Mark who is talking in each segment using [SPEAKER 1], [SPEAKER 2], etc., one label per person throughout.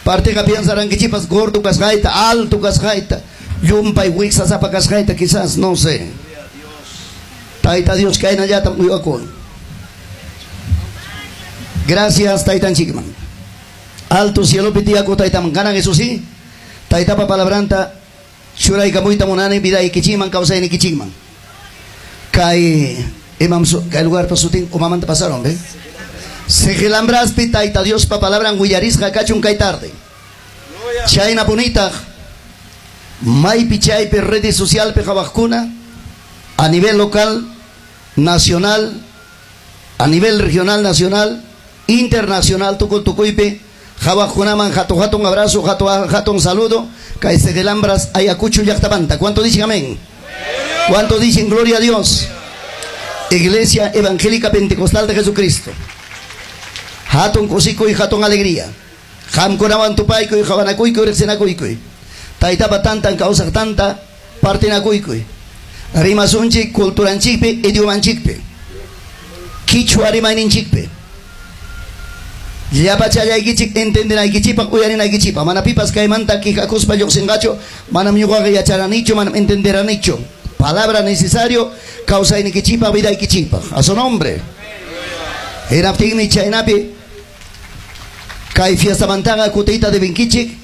[SPEAKER 1] Partiqa piensarankichipas gordo kasqayta, alto kasqayta, llumpay wiksasapa kasqayta quizás, no sé. Tayta Dios kaynallatam uywakun. Gracias Taytanchikman. Alto cielopi tiyakuq Taytaman. Kanan eso sí, Taytapa palabranta churaykamuyta munani vidaykichikman, kawsaynikichikman. Kay imam kay lugarpa sutin umamanta pasaron, ¿ve? Sigilambraspi Tayta Diospa palabran willarisqa kachun kay tarde. Chayna punitaq maypi chaypi redes socialpi qhawaqkuna a nivel local, nacional, a nivel regional, nacional, internacional, tukuy tukuypi qhawaqkunaman hatun hatun abrazo, hatun hatun saludo, kay Sigelambras Ayacucho llaqtamanta. ¿Cuánto dicen amén? ¿Cuánto dicen gloria a Dios? Iglesia Evangélica Pentecostal de Jesucristo. Hatun kusikuy, hatun alegría. Qamkunawan tupaykuy, qhawanakuykuy, riqsinakuykuy. Taytapa tantan kawsaq tanta partinakuykuy. Rimasunchik culturanchikpi, idiomanchikpi. Quichua rimayninchikpi. Llapachallaykichik entendenaykichikpaq, uyarinaykichikpaq. Mana pipas kaymanta quejakuspa lluqsinqachu, manam ñuqaqa yacharanichu, manam entenderanichu. Palabra necesario kawsaynikichikpaq, vidaykichikpaq. A su nombre. Hinaptinmi chaynapi kay fiestamantaqa kutiyta debinkichik,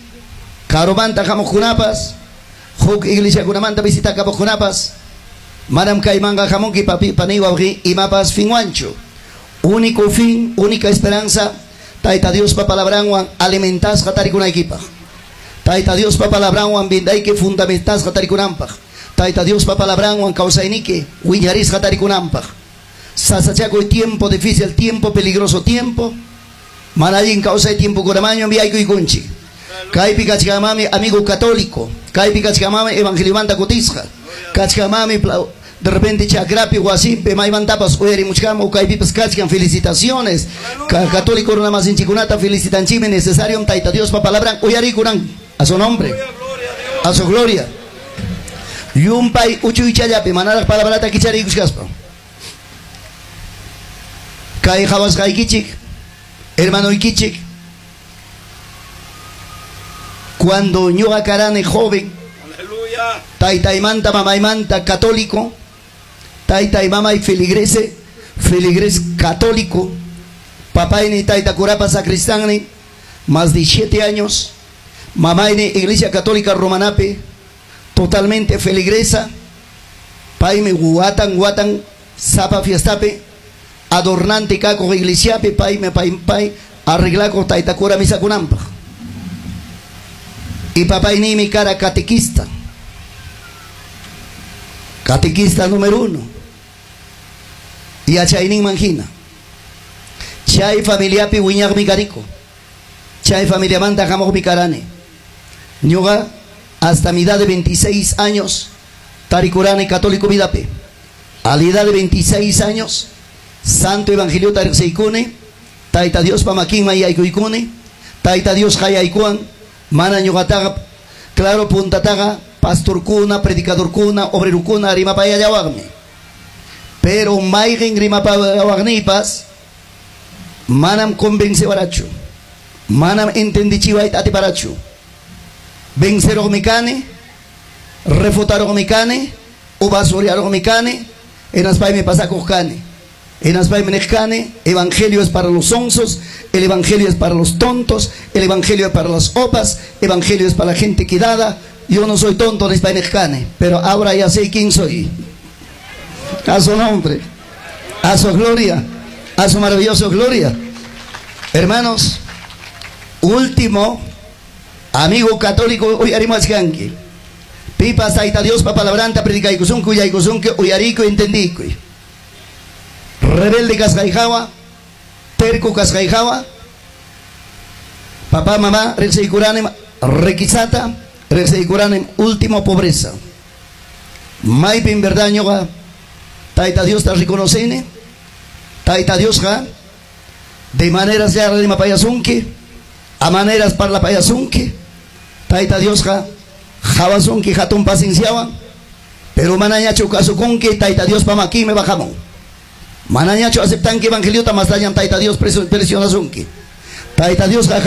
[SPEAKER 1] karumanta hamuqkunapas, huk iglesiakunamanta visitakamuqkunapas, manam kaymanqa hamunki papi pani wawqi imapas finwanchu. Único fin, única esperanza, Tayta Diospa palabranwan alimentasqa tarikunaykipaq. Tayta Diospa palabranwan bindayki fundamentasqa tarikunanpaq. Tayta Diospa palabranwan kawsayniki wiñarisqa tarikunanpaq. Sasachakuy tiempo difícil, tiempo peligroso tiempo. Mana allin kawsay tiempo kunamaño enviaykuykunchik. Kaypi kachkamami amigo católico, kaypi kachkamami evangeliomanta kutisqa, kachkamami de repente chakrapi wasimpi maymantapas uyarimuchkam o kaypipas kachkan felicitaciones. Católico runamasinchikunata felicitanchikmi necesario Tayta Diospa palabran uyarikunan a su nombre, a su gloria. Llumpay uchuychallapi manaraq palabrata kichariykuchkaspa. Kay qhawasqaykichik, hermanoykichik, cuando ñuqa karani joven, taytaymanta mamaymanta católico, taytay mamay feligrese, feligres católico, papayni tayta curapa sacristani, más de 7 años, mamayni iglesia católica romanape, totalmente feligresa, paymi watan watan sapa fiestape, adornante kako iglesiape, paymi pay pay arreglako tayta cura misakunampaq. Y papaynimi cara catequista, catequista número 1. Yachayninman hina. Chay familiapi wiñaqmi kariko. Chay familiamanta hamuqmi karani. Ñuqa hasta mi edad de 26 años tarikurani católico vidapi. A la edad de 26 años Santo Evangelio tariqsiykuni, Tayta Diospa makinman yaykuykuni, Tayta Dios qayaykuwan, mana ñuqataqa claro puntataqa pastorkuna, predicadorkuna, obrerukuna rimapayallawaqmi. Pero mayqin rimapayawaqniypas manam convencewarachu, manam entendichiwayta atiparachu. Venceroqmi kani, refutaroqmi kani, ubasuriaroqmi kani, hinaspaymi pasakuq kani. Hinaspaymi niq kani, evangelio es para los sonsos, el evangelio es para los tontos, el evangelio es para las opas, evangelio es para la gente quedada. Yo no soy tonto, nispay niq kani, pero ahora ya sé quién soy. A su nombre, a su gloria, a su maravillosa gloria. Hermanos, último amigo católico uyarimachkanki. Pipas Tayta Diospa palabranta predicaykusunki, uyaykusunki, uyarikuy, entendikuy. Rebelde kasqayhawa, terco kasqayhawa, papá, mamá, riqsiykuranim riquezata, riqsiykuranim último pobreza. Maypin verdad ñuqa Tayta Diosta reconocini, Tayta Diosqa de maneras ya rimapayasunki, a maneras parlapayasunki, Tayta Diosqa hawasunki hatun pacienciawan, pero manañachu kasukunki Tayta Diospa makinmi bajamun. Manañachu aceptanki evangeliota, mas dañan Tayta Dios presionasunki. Tayta Diosqa